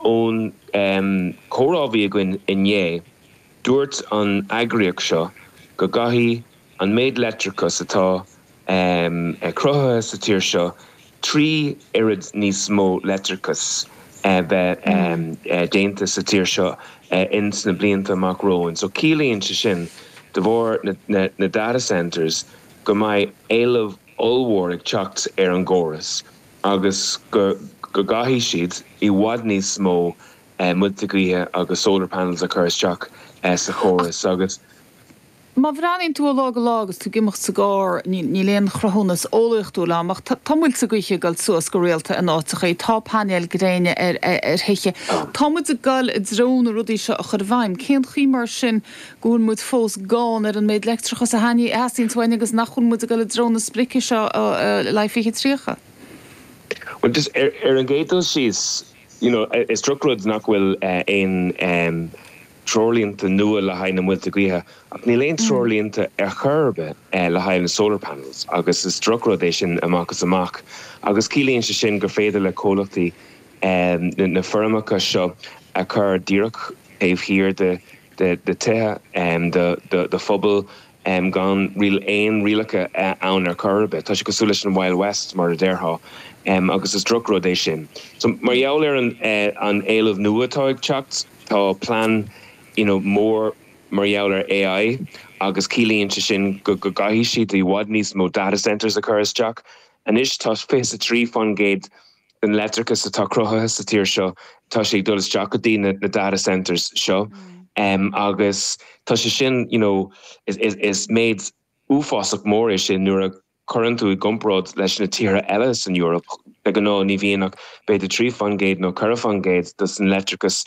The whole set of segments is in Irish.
Ón comhrá a bhí againn inné, dúirt an eagraíocht seo go gcaithfidh an méid leictreachas atá cruthaithe sa tír seo 3 oiread níos mó leictreachas bheith déanta sa tír seo ins na blianta amach romhainn. So ciallaíonn sé sin, de bharr na data centres, go mbeidh éileamh ollmhór ag teacht ar an gcóras agus go gcaithfidh siad i bhfad níos mó muilte gaoithe agus solar panels a chur isteach sa chóras agus. Má bhreathnaíonn tú ó lá go lá agus tú ag imeacht sa gcarr, níl aon chruthúnas eolaíochtúil ann, ach tá muilte gaoithe ag dul suas go rialta in áiteachaí, tá painéil gréine ar thithe. Tá muid ag dul i dtreo na rudaí seo a chur i bhfeidhm. Cén chaoi mar sin go bhfuil muid fós gann ar an méid leictreachais a theastaíonns uainn agus nach bhfuil muid ag dul i dtreo na sprice seo le haghaidh 2030? Bhuel, just ar an gcéad dul síos, you know, is drochrud nach bhfuil aon treoirlínte nua le haghaidh na muilte gaoithe ach níl aon treoirlínte ar chor ar bith le haghaidh na solar panels agus is drochrud é sin amach is amach agus ciallaíonn sé sin gur féidir le comhlachtaí na feirmeacha seo a chur díreach taobh thiar de de tithe, de phobail gan aon rialacha ann ar chor ar bith. Tá sé cosúil leis an Wild West mar a déarfá agus is drochrud é sin. So mar gheall ar an éileamh nua atá ag teacht, tá plean you know mór mar gheall ar AI agus ciallaíonn sé sin go gcaithfidh siad i bhfad níos mó data centres a chur isteach. Anois tá 23% den leictreachas atá cruthaithe sa tír seo, tá sé ag dul isteach go dtí na data centres seo agus tá sé sin, you know, is méid uafásach mór é sin nuair a chuireann tú i gcomparáid leis na tíortha eile san Eoraip. De ghnáth ní bhíonn ach b'fhéidir 3% nó 4% dos an leictreachas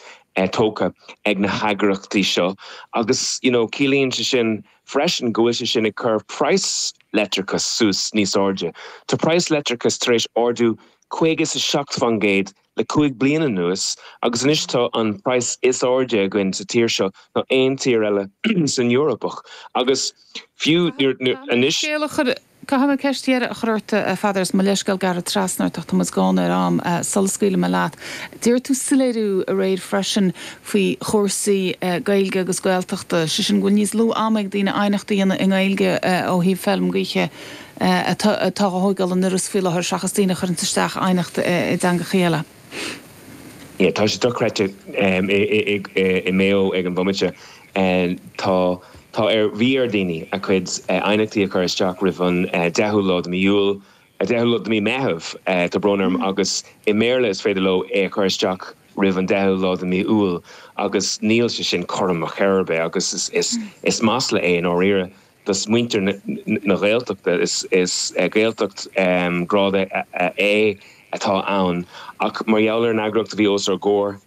tógtha ag na heagraíochtaí seo agus, you know, ciallaíonn sé sin freisin go bhfuil sé sin ag cur praghas leictreachais suas níos airde. Tá praghas leictreachais tar éis ardú 57% le 5 bliana anuas agus anois tá an praghas is airde againn sa tír seo ná aon tír eile san Eoraip agus fiú anois. Caithfidh mé ceist dheiridh a chur ort, a Pheadair, is mo leithscéal gearradh trasna ort ach tá muid gann ar am sula scaoilfidh mé leat. D'iarr tú soiléiriú aréir freisin faoi chúrsaí Gaeilge agus Gaeltachta, sé sin go bhfuil níos lú ama ag daoine aighneacht a dhéanamh i nGaeilge ó thaobh feilm gaoithe atá á thóigeáil in Iorras faoi láthair seachas daoine a chuireanns isteach aighneacht i dteangachaí eile. Yeah, tá sé dochreidte i Mayo ag an bhomaite. Tá, tá ar, bhí ar daoine a gcuid aighneachtaí a chur isteach roimh an 10ú lá de mí Iúil, 10ú lá de mí Meitheamh, tá brón orm, agus i mBéarla is féidir leo é a chur isteach roimh an 10ú lá de mí Iúil agus níl sé sin cothrom ar chor ar bith agus is, is masla é i ndáiríre. dos muintir na Gaeltachta. Is Gaeltacht grád A atá ann ach mar gheall ar an eagraíocht a bhí os ár gcomhair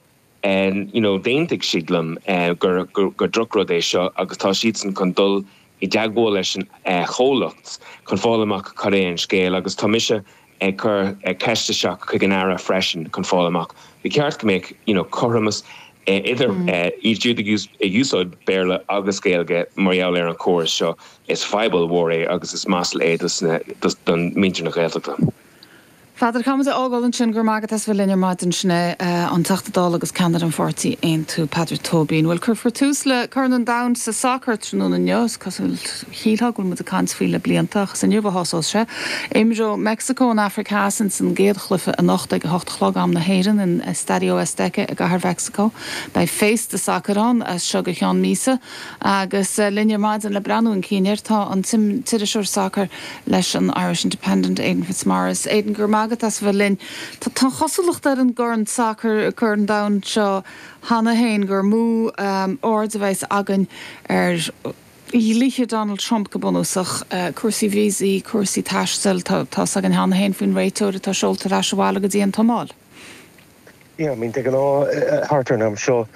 you know d'aontaigh siad liom gur gur drochrud é seo agus tá siadsan chun dul i dteagmháil leis an chomhlacht chun fáil amach cad é an scéal agus tá mise ag cur ceist isteach chuig an Aire freisin chun fáil amach. Ba cheart go mbeadh you know cothromas idir iad siúd ag úsáid Béarla agus Gaeilge mar gheall ar an chóras seo. Is fadhb ollmhór é agus is masla é dos don muintir na Gaeltachta. Pheadair, caithfidh muid a fhágáil ansin. Go raibh maith agat as bheith linn ar maidin. Sin é an Teachta Dála agus ceannaire an pháirtí Aontú, Peadar Tóibín. Bhuel, cuirfear tús le Corn an Domhain sa sacar tráthnóna inniu. Is cosúil, shílfeá go bhfuil muid ag caint faoi le blianta ach is inniu a thosós sé. Imreoidh Meicsiceo an Afraic Theas ins an gcéad chluiche anocht ag a hocht a chlog am na hÉireann in Estadio Azteca i gcathair Mheicsiceo. Beidh féasta sacair ann as seo go ceann míosa agus linn ar maidin le breathnú chun cinn air tá an t-iriseoir sacair leis an Irish Independent, Aidan Fitzmaurice. Aidan, go raibh maith agat as a bheith linn. Tá an chosúlacht ar an gcorn sacair, Corn an Domhain seo cheana féin gur mó aird a bheas againn ar dhlíthe Donald Trump go bunúsach, cúrsaí víosaí, cúrsaí taistil, tá fhios againn cheana féin faoin réiteoir atá seolta ar ais abhaile go dtí an tSomáil. Yeah, I mean, de ghnáth, thart ar an am seo,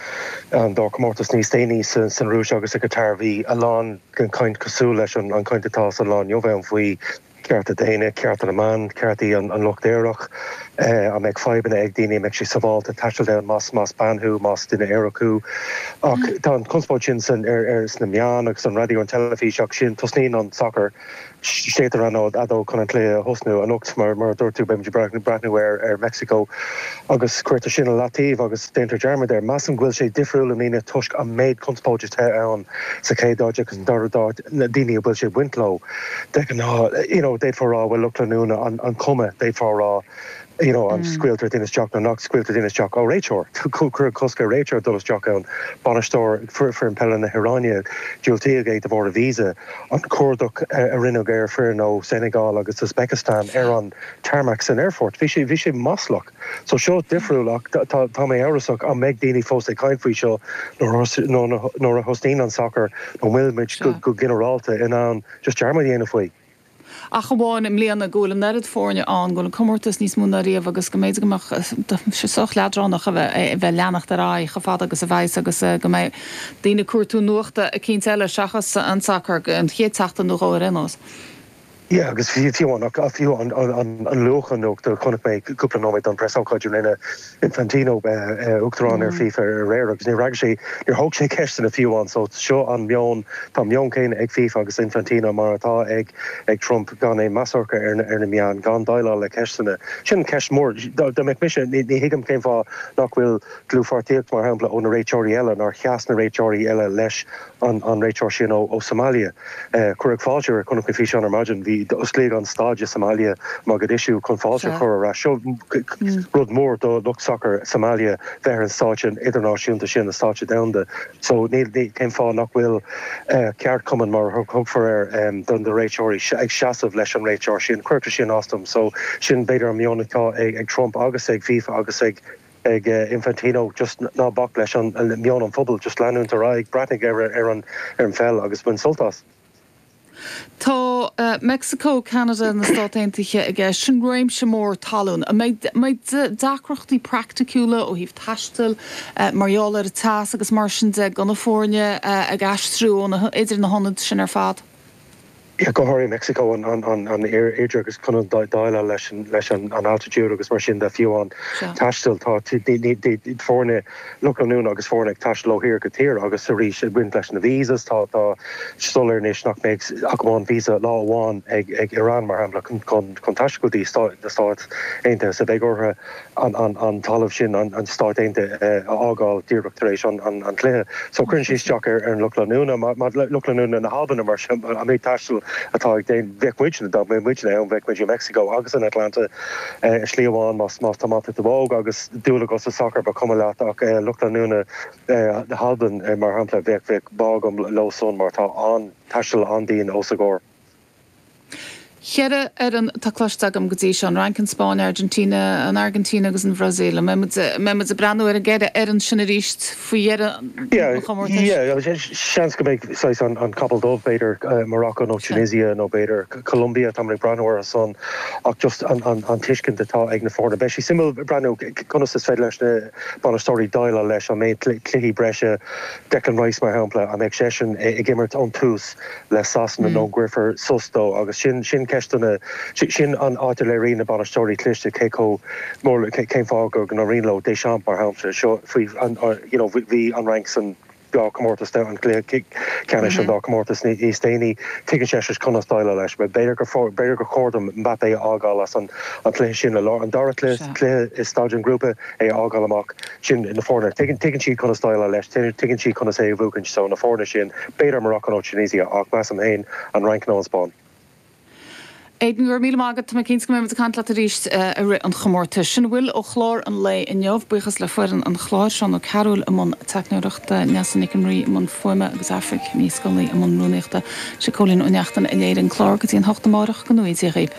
an dá chomórtas níos déanaí san Rúis agus sa Qatar, bhí a lán den chaint cosúil leis an chaint atá sa lá inniu ann faoi. cearta daonna, cearta na mban, ceartaí an lucht aerach, an mbeidh fadhbanna ag daoine, an mbeidh sé sábháilte taisteal ann más más bean thú, más duine aerach thú. Ach tá an chonspóid sin san ar ar sna meáin agus an raidió an teilifís ach sin tosnaíonn an sacar séidtear an fheadóg chun an cluiche a thosnú. Anocht mar mar a dúirt tú beimid ag breathnú ar ar Meicsiceo agus cuirtear sin i leataobh agus déantar dearmad air. Measaim go bhfuil sé difriúil i mbliana toisc an méid conspóide atá ann sa chéad áit agus an dara háit na daoine a bhfuil sé ag baint leo. De ghnáth, you know, d'fhéadfá a rá, bhuel, lucht leanúna, an an chuma, d'fhéadfá a rá, you know, an scaoiltear duine isteach nó nach scaoiltear duine isteach. Ó, réiteoir! Cuireadh cosc ar réiteoir dul isteach ann. Bainisteoir foireann peile na hIaráine, diúltaíodh é de bharr a visa. An cuardach a rinneadh ar foireann ó Senegal agus Uzbekistan ar an tarmac san aerfort, bhí sé, bhí sé maslach. So seo difriúil ach tá, tá mé amhrasach an mbeidh daoine fós ag caint faoi seo nuair a thosnaíonn an sacar nó an bhfuil muid go, go ginearálta in ann just dearmad a dhéanamh faoi. Ach amháin i mbliana go bhfuil an oiread foirne ann, go bhfuil an comórtas níos mó ná riamh agus go mb'fhéidir go mbeadh sé sách leadránach a bheith ag leanacht ar aghaidh chomh fada agus a bheas agus go mbeidh daoine ag cuartú nuachta eicínt eile seachas an sacar an chéad tseachtain nó dhó ar aon nós. Yeah agus fiú amháin ach fiú an luach an nuachta chonaic mé cúpla nóiméad don preasócáid a rinne Infantino, Uachtarán ar FIFA aréir agus níor fhreagair sé, níor thóg sé ceisteanna fiú amháin so seo an meon, tá an meon céanna ag FIFA agus Infantino mar atá ag ag Trump gan aon meas orthu ar ar na meáin, gan déileáil le ceisteanna. Sin ceist mhór. Dá mbeadh mise, ní thuigim cén fáth nach bhfuil dlúthpháirtíocht mar shampla ó na réiteoirí eile, nár sheas na réiteoirí eile leis an an réiteoir sin ó ó Somalia. Cuireadh fáilte air, chonaic mé físeán ar maidin, bhí, osclaíodh an staid i Somalia, Mogadishu, chun fáilte a chur ar ais. Seo rud mór do lucht sacair Somalia bheith ar an stáitse idirnáisiúnta sin, an stáitse domhanda. So níl, cén fáth nach bhfuil ceardchumann, mar a thugfar air, do na réiteoirí ag seasamh leis an réiteoir sin? Cuirtear sin as dom. So sin b'fhéidir an meon atá ag Trump agus ag FIFA agus ag ag Infantino just ná bac leis an meon an phobail, just leanúint ar aghaidh, breathnaigh ar an ar an pheil agus bain sult as. Tá Meicsiceo, Ceanada, na Stáit Aontaithe i gceist. Sin réimse mór talún. An mbeidh deacrachtaí praiticiúla ó thaobh taistil mar gheall ar an teas agus mar sin de do na foirne ag aistriú idir na hionaid sin ar fad? Yeah, go háirithe Mexico, an aeráid agus chun déileáil leis an leis an altitude agus mar sin de, fiú an taisteal, tá foirne, lucht leanúna agus foirne ag taisteal ó thír go tír agus arís ag baint leis na visas, tá tá soiléir anois nach mbeidh ach amháin visa lá amháin ag ag Iran mar shampla chun chun taisteal go dtí na Stáit Aontaithe so beidh orthu an talamh sin, an Stáit Aontaithe, a fhágáil díreach tar éis an chluiche. So cuireann sé isteach ar an lucht leanúna. Lucht leanúna na hAlban mar sin, an méid taistil atá ag déanamh, bheadh muidne, dá mbeadh muidne ann, bheadh muid i Meicsiceo agus in Atlanta i slí amháin más tá maith agat do bhóg agus dúil agat sa sacar ba chuma leat ach lucht leanúna na hAlban mar shampla, bheadh bheadh bá agam leo san mar tá an taisteal an-dian os a gcomhair. Cheithre fhoireann atá cloiste agam go dtí seo, an Fhrainc, an Spáinn, Argentina, an Airgintín agus an Bhrasaíl. An mbeidh muid, an mbeidh muid ag breathnú ar an gceithre fhoireann sin arís faoi dheireadh an chomórtais? Yeah, seans go mbeidh saghas an, an capall dubh, b'fhéidir Morocco nó Tunisia nó b'fhéidir Colombia, tá mé ag breathnú orthu san ach just an, an, an tuiscint atá ag na foirne. Beidh sé suimiúil breathnú conas is féidir leis na bainisteoirí déileáil leis an méid cluichí breise, Declan Rice mar shampla, an mbeidh seisean ag imirt ón tús? le Sasana nó an gcuirfear sos dó agus sin sin ceist do na sin an áit a léiríonn na bainisteoirí cliste cé chomh mór cén fáth go n-éiríonn leo Deschamps mar shampla seo faoi an you know bhí an Fhrainc san dá chomórtas an cluiche ceannais an dá chomórtas níos déanaí tuigeann seisean conas déileáil leis b'fhéidir gur b'fhéidir gur chóir dom Mbappé a fhágáil as an an cluiche sin i lár an dara cluiche cluiche i staid an ghrúpa é a fhágáil amach. Sin na foirne. Tuigeann, tuigeann siad conas déileáil leis, tuigeann siad conas é a bhuachaint. So na foirne sin, b'fhéidir Morocco nó Tunisia, ach measaim féin an Fhrainc nó an Spáinn. Aidan, go raibh míle maith agat. Tá mé cinnte go mbeidh muid ag caint leat arís i rith an chomórtais. Sin a bhfuil ó chlár an lae inniu. Buíochas le foireann an chláir, Seán Ó Cearúil i mbun teicneoireachta, Neasa Nic an Rí i mbun fuaime agus Aifric Ní Scolaí i mbun rúnaíochta. Sé Cóilín Ó Neachtain a léirigh an clár go dtí an hocht amárach. Go ngnóthaí Dia dhaoib.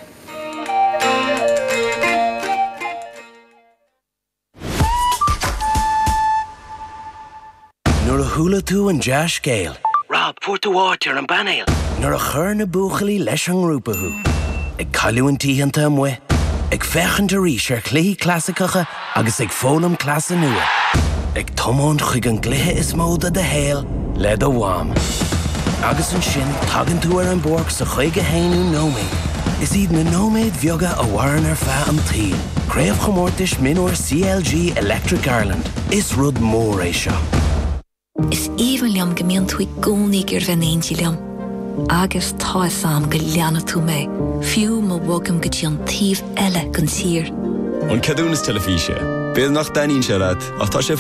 Nuair a chuala tú an dea-scéal. Rob, fuair tú áit ar an bpainéal! Nuair a chuir na buachaillí leis an ngrúpa thú. Ag cailliúint oícheanta amuigh, ag féachaint arís ar chluichí clasaiceacha agus ag foghlaim cleasa nua. Ag tiomáint chuig an gcluiche is mó de do shaol le do mham. Agus ansin tagann tú ar an bpáirc sa 51ú nóiméad. Is iad na nóiméid bheaga a mhaireann ar feadh an tsaoil. Craobhchomórtais Mionúir CLG Electric Ireland. Is rud mór é seo. Is aoibhinn liom go mbíonn tú i gcónaí ag iarraidh bheith in éindí liom. Agus tá 'fhios a'm go leanfaidh tú mé, fiú má bhogaim go dtí an taobh eile den tír. An ceadúnas teilifíse. B'fhéidir nach dtaitníonn sé leat, ach tá sé.